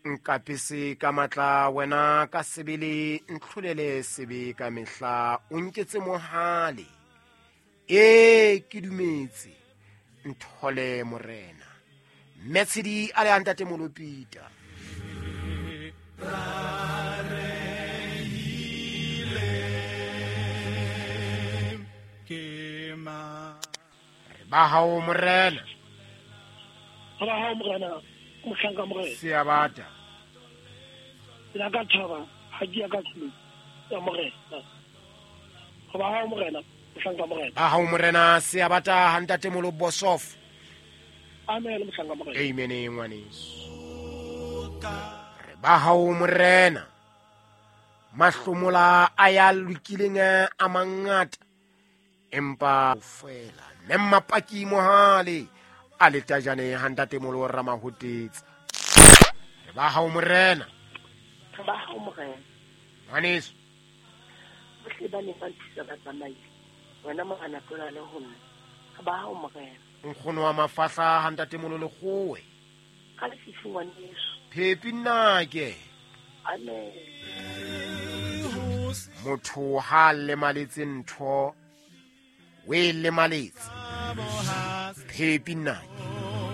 Nkapese ka matla wena ka sebele, ntlholele sebe ka mehla, o nketse mohale. Ee, ke dumetse, nthole morena. Mmetshedi a le a ntate Molopita. Re ba hao morena. Re ba hao morena, mohlanka morena. Seabata. La ka thaba ha ke ya ka tlung ya morena. Re ba hao morena, mohlanka morena. Ba hao morena, seabata ha ntate Molobosof. Amen, mohlanka morena. Amen, ngwaneso. Re ba hao morena. Mahlomola a ya lokileng a mangata, empa fela mme mmapaki mohale a le tajane ha ntate Molo Ramahotetsa. Re ba hao morena. Re ba hao morena. Ngwaneso. Bohle ba neng ba nthusa ba tsamaile. Wena morena tlola le ho nna. Re ba hao morena. Nkgono wa mafahla ha ntate Molo Lekgowe. Ka lefifi ngwaneso. Phepi nnake. Amen. Motho ha lemaletse ntho, o e lemaletse. Phepi nnake.